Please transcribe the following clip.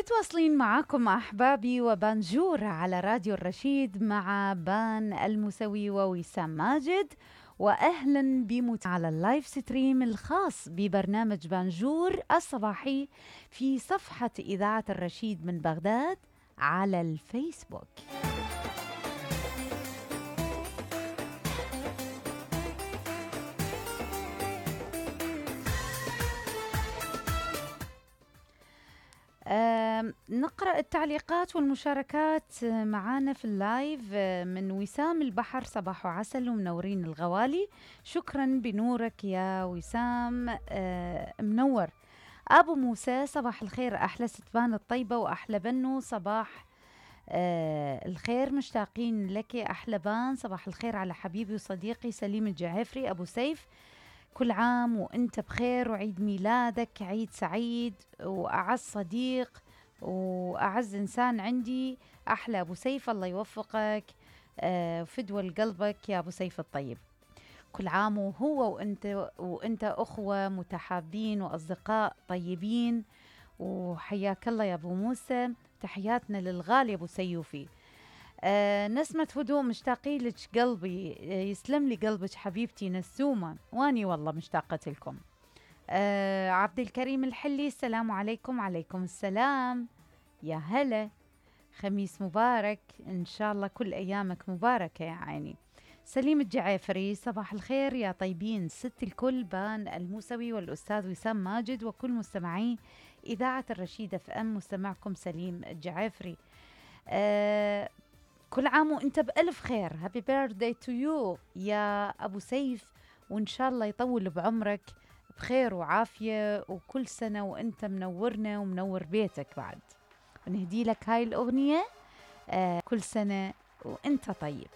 متواصلين معاكم أحبابي وبانجور على راديو الرشيد مع بان الموسوي ووسام ماجد، وأهلا على اللايف ستريم الخاص ببرنامج بانجور الصباحي في صفحة إذاعة الرشيد من بغداد على الفيسبوك. نقرأ التعليقات والمشاركات معانا في اللايف من وسام البحر. صباح وعسل ومنورين الغوالي. شكرا بنورك يا وسام. منور. أبو موسى صباح الخير، أحلى ستبان الطيبة وأحلى بنو. صباح الخير، مشتاقين لك أحلى بان. صباح الخير على حبيبي وصديقي سليم الجعفري أبو سيف، كل عام وانت بخير وعيد ميلادك عيد سعيد. وأعز صديق وأعز إنسان عندي أحلى أبو سيف، الله يوفقك وفدوى لقلبك يا أبو سيف الطيب. كل عام وهو وانت أخوة متحابين وأصدقاء طيبين، وحياك الله يا أبو موسى. تحياتنا للغالي أبو سيوفي. نسمة هدوء، مشتاقين لك قلبي، يسلم لي قلبك حبيبتي نسومة، واني والله مشتاقة لكم. عبد الكريم الحلي، السلام عليكم. عليكم السلام، يا هلا، خميس مبارك إن شاء الله، كل أيامك مباركة يا عيني. سليم الجعافري، صباح الخير يا طيبين، ست الكل بان الموسوي والأستاذ وسام ماجد وكل مستمعي إذاعة الرشيد اف ام. مستمعكم سليم الجعافري. كل عام وانت بألف خير. هابي بيرثداي تو يو يا أبو سيف، وإن شاء الله يطول بعمرك بخير وعافية، وكل سنة وانت منورنا ومنور بيتك بعد. ونهدي لك هاي الأغنية كل سنة وانت طيب.